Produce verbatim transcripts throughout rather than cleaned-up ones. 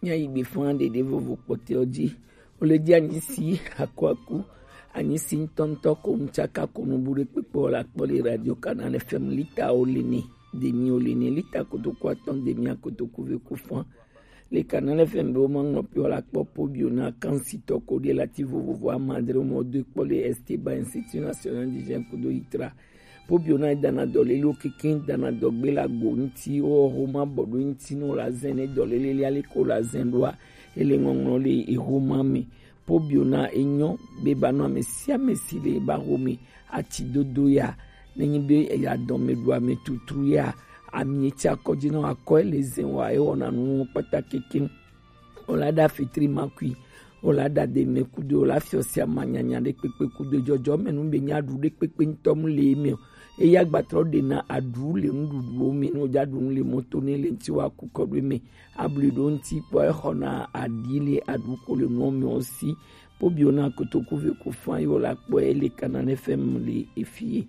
Míayi gbe fɔn ɖeɖe vovo kpɔtɔewo ji. Wole ji anyisi akuaku, anyisi ŋutɔŋutɔ ko ŋtsaka ko nubu ɖe kpekpe wɔ le akpɔ le Radio Canal F M lita wo le ne, demi wo le ne, lita kotoku atɔn demi akotoku ve ku fɔn. Le Canal F M be wo ma ŋlɔ pe wɔ le akpɔ po bio na kansitɔ ko ɖe lati vovovo ama adre wo mɔ do kpɔ le Esteban Institut National du Jeune kudo Itra. Pobio na dana dɔlelewo keke dana dɔgbe le agbo ŋuti, wo xoma bɔ ɖo ŋuti ne wòle azẽ ne dɔlele lia leke wòle azẽ ɖoa, ele ŋɔŋlɔ le exoma me. Pobio na enyɔ be ba nɔ ame sia ame si le ba xome ati dodo ya, nenyi be eya dɔme ɖu ame tutru ya, ami etsi akɔdzi na akɔe le zẽ wa ewɔna nuwo kpata keke. Wòle aɖa fitri makui, wòle aɖa deme kudo, wòle afiɔ sia manyanya ɖe kpekpe kudo jɔjɔ me nu be nya ɖu ɖe kpekpe ŋutɔ mu le eme o. Eya gbatrɔ ɖe na aɖu le nuɖuɖuwo me ne wòdza ɖu nu le mɔto ne le ŋuti wa ku kɔ ɖo eme. Abli ɖo ŋuti kpɔ exɔna aɖi le aɖu ko le nuwo me wo si. Pobio na kotoku ve ku fan yi wòle akpɔ ele kana ne fɛn mu le efie.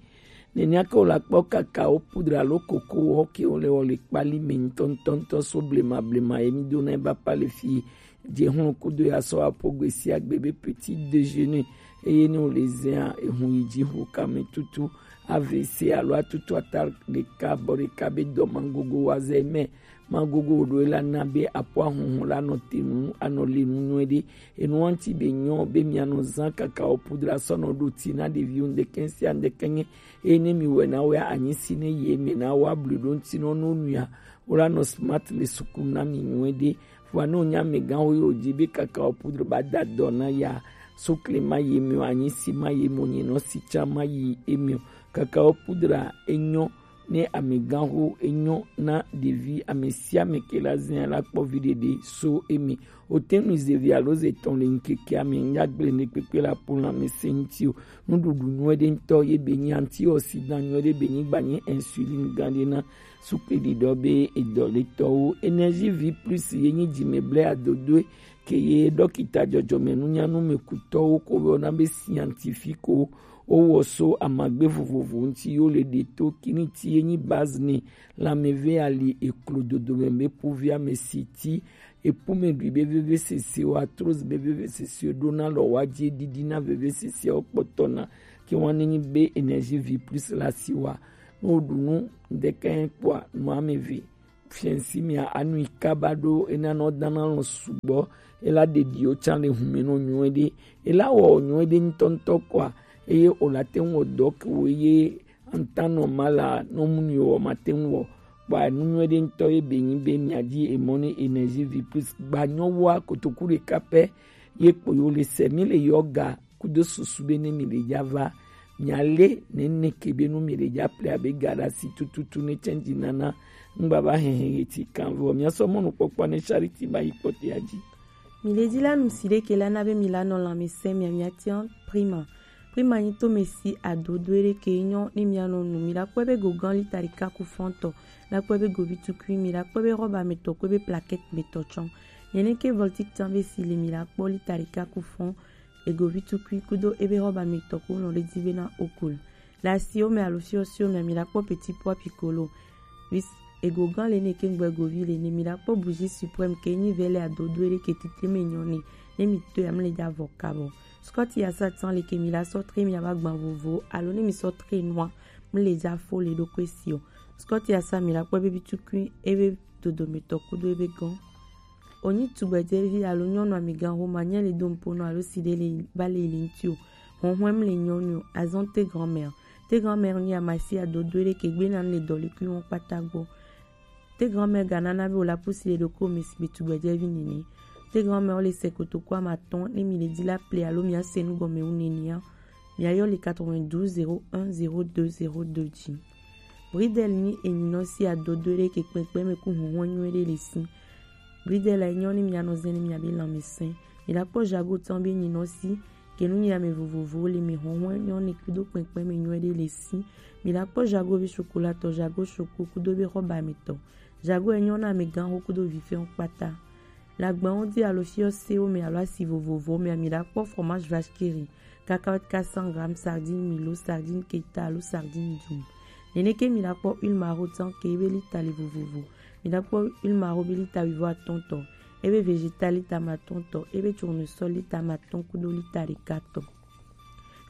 Nenea ke wòle akpɔ kakao pudra alo koko wɔ ke wòle wɔ le kpali me ŋutɔŋutɔŋutɔ so blema blema ye mi do na eba pa le fi dze hlɔ̃ kudo ya sɔ apo gbe sia gbe be petit déjeuner eye ne wòle zẽa ehun yi dzi ho kame tutu A V C alo atutu ata ɖeka bɔ ɖeka be dɔ magogo wa zɛ mɛ. Magogo ɖo la na be apo ahunhun la nɔ te nu anɔ le nu nyuie ɖe. Enu ŋuti be nyɔ be mianɔ zã kakao pudra sɔ nɔ ɖo ti na ɖeviwo ŋdekɛ sia ŋdekɛ nye. Eye ne mi wɛ na wɛ anyi si ne ye me na wa blu ɖo ŋuti nɔ no nua. Wo la nɔ smart le sukulu na mi nyuie ɖe. Vɔa ne wonya amegãxo ye wòdzi be kakao pudra ba da dɔ na ya, sukle ma ye me o, anyi si ma ye me o, nyinɔ si tsã ma yi eme o. Kakao pudra enyɔ ne amegãxo enyɔ na ɖevi ame sia ame ke la zia la kpɔ viɖe ɖe so eme. Wote ŋu ze vi alo ze tɔn le ŋkeke ame ŋgagble ne kpekpe la po lãmesẽ ŋuti o. Nuɖuɖu nyuie ɖe ŋutɔ ye be nyi antioxydant nyuie ɖe be nyi gba nyi insuline gã ɖe na sukle ɖiɖɔ be edɔletɔwo. Energie vie plus ye nyi dzimeble adodoe ke ye ɖɔkita dzɔdzɔmenunyanu me kutɔwo ko wɔna be scientifique wo wowɔ so amagbe vovovo ŋuti yo le ɖe to kiniti ye nyi base ne lãmeve ali eklo dodome be puvi ame si ti epume ɖui be vevesese o, arthrose be vevesese o, ɖona lɔ wa dzi ɖiɖi na vevesese o kpɔtɔ na ke wa ne nyi be energie vie plus la si wa. Ne woɖu nu ŋdekɛ kpɔa nu ame eve fiɛnsi mia anu yi kaba ɖo ena nɔ dana lɔ sugbɔ. Ela ɖeɖiwo tsã le hume nɔ nyuie ɖe. Ela wɔ nyuie ɖe ŋutɔŋutɔ kɔa eye wòla te ŋu wɔ dɔ ke wo ye antanɔ ma la nɔ mu ni wɔ ma te ŋu wɔ. Kpa nu nyuie ɖe ŋutɔ ye be nyi be mia dzi emɔ ne energie vie plus gba nyɔ wa kotoku ɖeka pɛ ye kpo yo le se mi le yɔ ga kudo susu be ne mi le dza va mia le nene ke be nu mi le dza ple abe ga ɖe asi tututu ne change nana ŋgba va hehe ye ti kan vɔ mia sɔ mɔnukpɔkpɔ ne charity ba yi kpɔtɔa dzi. Mi le dzi la nu si ɖe ke la na be mi la nɔ lãmesẽ mia mia tian prima. Prima nyi to me si adodo ɖe ke nyɔ ne mia nɔ nu mi la kpɔ be go gan lita ɖeka ku fɔntɔ la kpɔ be govi tukui mi la kpɔ be rɔba me tɔ kpɔ be plaquette me tɔ tsɔn. Nyene ke voltic tan be si le mi la kpɔ lita ɖeka ku fɔn egovi tukui kudo ebe rɔba me tɔ ko nɔ ɖe dzi be na okul. Le asiwo me alo fiɔsiwo me mi la kpɔ petit pois piccolo. Vis ego gan le ne ke ŋgbɛ govi le ne mi la kpɔ bougie suprême ke nyi vɛ le adodo ɖe ke titri me nyɔ ne ne mi to ya mi le dza vɔ kabɔ. Scott ya sa tan le ke mi la sɔ tre mi aba gban vovo alo ne mi sɔ tre nua mi le dza fo le ɖo kwe si o. Scott ya sa mi la kpɔ ebe bi tukui ebe dodo me tɔ kudo ebe gan. Wonyi tugbedzɛvi alo nyɔnu amigã Roma nye le do nuƒo nɔ alo si ɖe le ba le yi le ŋuti o. Hɔnhɔn le nyɔnu azɔn te grand-mère. Te grand-mère nyi amasi adodo ɖe ke gbe na le dɔlekui wɔn kpata gbɔ. Te grand-mère ga nana be wòle apusi le ɖokɔ me sigbe tugbedzɛvi nene. Te grand-mère le se kotoku ame atɔ̃ ne mi le di la ple alo mia se nu gɔme wu nenea. Mia yɔ le quatre-vingt-douze zéro un zéro deux zéro deux dzi. Bridel nyi enyinɔ si adodo ɖe ke kpɛkpɛ me ku hɔnhɔn nyuie ɖe le si. Bridel a nyɔ ne mianɔ zɛn ne miabe lãmesẽ. Mi la kpɔ Jago tɔn be enyinɔ si ke nu nyi ame vovovowo le me hɔnhɔn nyɔ ne kudo kpɛkpɛ me nyuie ɖe le si. Mi la kpɔ Jago be chocolat tɔ Jago choco kudo be rɔba me tɔ. Jago e nyɔ na ame gã ho kudo vifɛn kpata. Le agbawo dzi alo fiɔsewo me alo asi vovovowo me, mi la kpɔ fromage vache qui rit, cacahuète quatre cents grammes, sardine milo, sardine keta alo sardine dum. Neneke mi la kpɔ huile maro tsan ke be lita le vovovo. Mi la kpɔ huile maro be lita wuivo atɔ̃ tɔ. ebe végétal lita amatɔn tɔ, ebe tournesol lita amatɔn kudo lita ɖeka tɔ.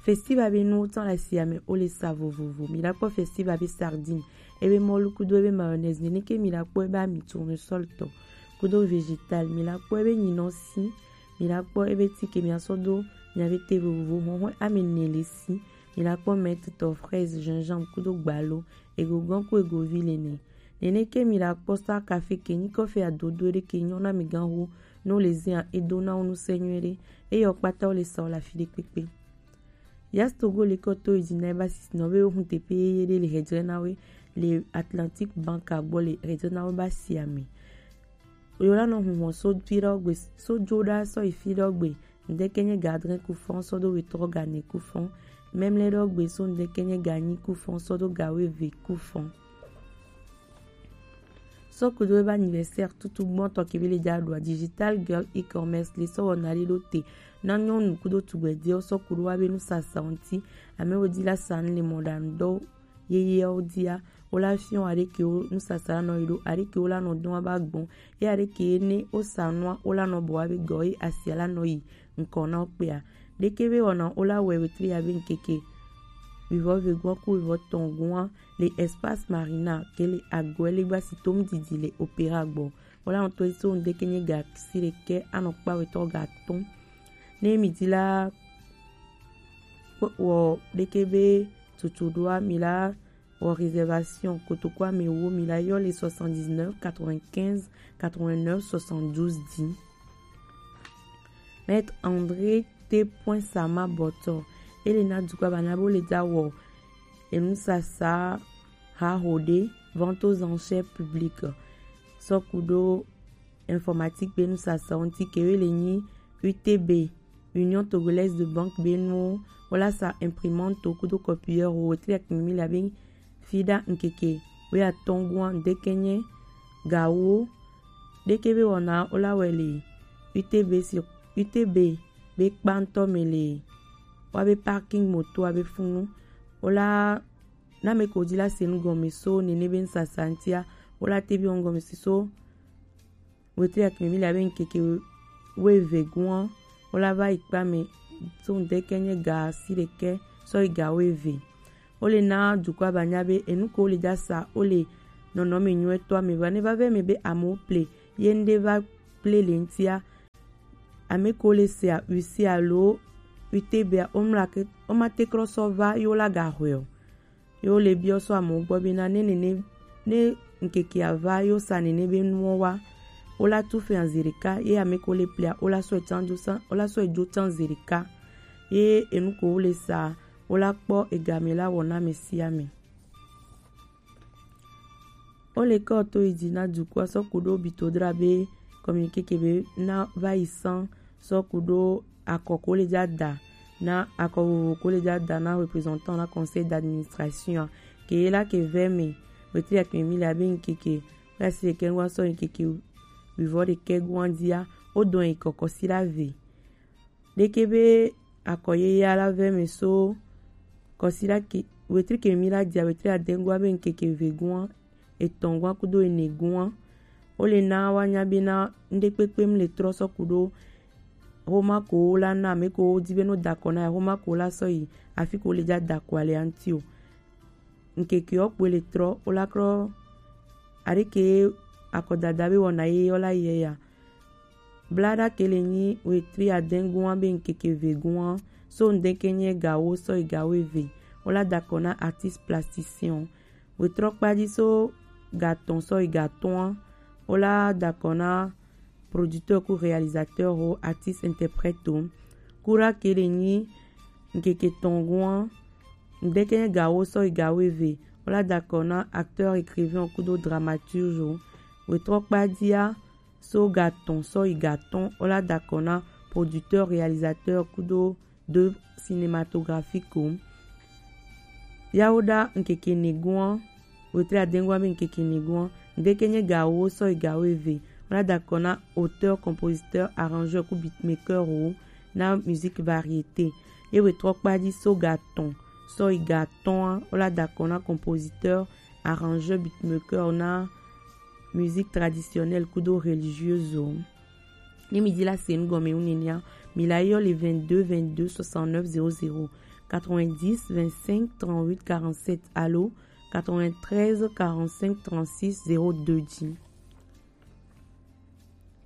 Festival be nuwo tsɔ le asia me, wo le sa vovovo. Mi la kpɔ festival be sardine, ebe mɔlu kudo ebe mayonnaise, nene ke mi la kpɔ ebe ami tournesol tɔ kudo végétal, mi la kpɔ ebe nyinɔsi, mi la kpɔ ebe ti ke mi asɔ do nya be te vovovo, hɔhɔn ame ne le si, mi la kpɔ menthe tɔ, fraise, gingembre kudo gbalo, egogan ku egovi le ne. Nene ke mi la kpɔ sa café ke nyi kɔfe adodo ɖe ke nyɔ na mi gan ho, no le zia edo na wo nu se nyuie ɖe. Eyɔ kpata wo le sa wo le afi ɖe kpekpe. Yas Togo le kɔ to yi dzi na eba sisi nɔ be wo hun teƒe yeye ɖe le hedzre na we le Atlantic Bank gbɔ le hedzre na we ba sia me. Yo la nɔ hun hɔn so fi ɖe gbe, so jo ɖa sɔ yi fi ɖe gbe. Ŋdeke nye ga adre kufɔn sɔ do wetɔ ga ne kufɔn. Memle ɖe gbe so ŋdeke nye ga nyi kufɔn sɔ do ga weve kufɔn. Sɔ kudo ebe anniversaire tutu gbɔntɔ ke be le dza ɖua, Digital Girl E-Commerce le sɔ wɔna ɖe ɖo te na nyɔnu kudo tugbedzɛwo sɔ kudo wa be nusasa ŋuti. Ame wo di la sa nu le mɔɖaŋu dɔ yeyewo dia, wo la fiɔ aɖe ke wo nusasa la nɔ yi ɖo, aɖe ke wo la nɔ dɔn aba gbɔn, ye aɖe ke ne wo sa nua wo la nɔ bɔ wa be gɔ ye asia la nɔ yi ŋkɔ na wo kpea. Ɖeke be wɔna wo la wɛ wetri ya be ŋkeke wivɔ vegua ku wivɔ tɔn gua le Espace Marina ke le agɔe le gba si tom didi le Opéra gbɔ. Wo la ŋutɔ so ŋdeke nye ga si ɖeke anɔ kpa wetɔ ga tɔn. Ne mi di la kpɔ wɔ ɖeke be tutu ɖoa mi la wɔ réservation kotoku ame wo mi la yɔ le soixante-dix-neuf quatre-vingt-quinze quatre-vingt-neuf soixante-douze dix. Maître André T. Point Sama Bɔtɔ, ele na dukɔ bana bo le da wɔ enusasa ha ho ɖe, vente aux enchères publiques, sɔ kudo informatique be nusasa ŋuti ke wo le nyi U T B, Union Togolaise de Banque be nuwo, wo la sa imprimante kudo copieur wo wetri akimi mi la be fi ɖa ŋkeke wetɔ gua ŋdeke nye gawo ɖeke be wɔna wo la wɛ le U T B si U T B be kpantɔ me le wa be parking moto wa be funu wo la na me ko di la se nu gɔme so nene be ŋsasa ŋtia wo la te bi wɔn gɔme si so wetri akimi mi la be ŋkeke weve gua wo la va yi kpa me so ŋdeke nye ga si ɖeke sɔ yi ga weve. Wo le na dukɔ abanya be enu ko wo le dza sa wo le nɔnɔme nyuietɔ me va ne va vɛ me be amewo ple ye ŋɖe va ple le ŋtia. Ame ko le sea usi alo U T B a wo mla ke wo ma te krɔ sɔ va ye wo la ga hɔe o. Ye wo le biɔ sɔ amewo gbɔ be na ne nene ne ŋkekea va ye wo sa nene be nuwo wa wo la tu fɛn zi ɖeka ye ame ko le plea wo la sɔ etsan jo san wo la sɔ ejo tsan zi ɖeka. Ye enu ko wo le sa wo la kpɔ egame la wɔ na ame sia ame. Wo le kɔ to yi dzi na dukɔa sɔ ku ɖo bito dra be communiqué ke be na va yi san sɔ ku ɖo akɔ ko le dza da na akɔ vovo ko le dza da na représentant na conseil d'administration ke ye la ke vɛ me wetri akpe mi le abe ŋkeke la si ke ŋua sɔ ŋkeke wivɔ ɖekɛ gua dzia wo dɔn yi kɔkɔ si la ve. Ɖeke be akɔ yeye la vɛ me so kɔsiɖa ke wetri ke mi la dia wetri adengua be ŋkeke vegua etɔngua kudo enegua. Wo le na wa nya be na ŋɖe kpekpe mu le trɔ sɔ ku ɖo homa ko wo la na ame ko wo di be no da kɔ na ya homa ko wo la sɔ yi afi ko wo le dza da kɔ ale anti o. Ŋkeke wo kpoe le trɔ wo la krɔ aɖeke akɔdada be wɔna ye yɔ la yɛ ya. Blaɖa ke le nyi wetri adengua be ŋkeke vegua so ŋdeke nye gawo sɔ yi gawo eve wo la da kɔ na artiste plasticien. Wetrɔ kpadzi so gatɔn sɔ yi gatɔa wo la da kɔ na producteur ku réalisateur ho artiste interprète o. Kura ke le nyi ŋkeke tɔngua ŋdeke nye gawo sɔ yi gawo eve wo la da kɔ na acteur écrivain kudo dramaturge o. Wetrɔ kpadzia so gatɔn sɔ yi gatɔn wo la da kɔ na producteur réalisateur kudo de cinématographique o. Yawo ɖa ŋkeke negua wetri adengua be ŋkeke negua ŋdeke nye gawo sɔ yi gawo eve wo la da kɔ na auteur compositeur arrangeur ku beatmaker o na musique variété. Ye wetrɔ kpadzi so gatɔn sɔ yi gatɔa wo la da kɔ na compositeur arrangeur beatmaker na musique traditionnelle kudo religieuse o. Ne mi di la se nu gɔme wu nenea, mi la yɔ le vingt-deux vingt-deux soixante-neuf zéro zéro, quatre-vingt-dix vingt-cinq trente-huit quarante-sept alo quatre-vingt-treize quarante-cinq trente-six zéro deux dzi.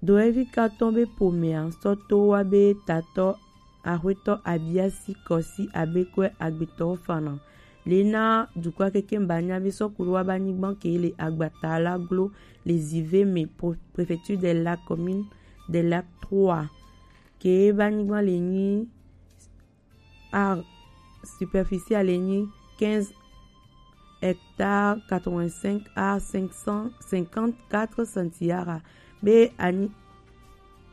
Doevi katɔ be pomea sɔ to wa be tatɔ Axwetɔ Abiasi Kɔsi Abekwe Agbetɔwo fana. Le na dukɔa keke ba nya be sɔku wa ba nyigban ke le agbata la glo le zive me pro-, préfecture de la commune de la trois. Ke ba nyigban le nyi ar superficie le nyi quinze hectares quatre-vingt-cinq ar cinq cent cinquante-quatre centiara. Be anyi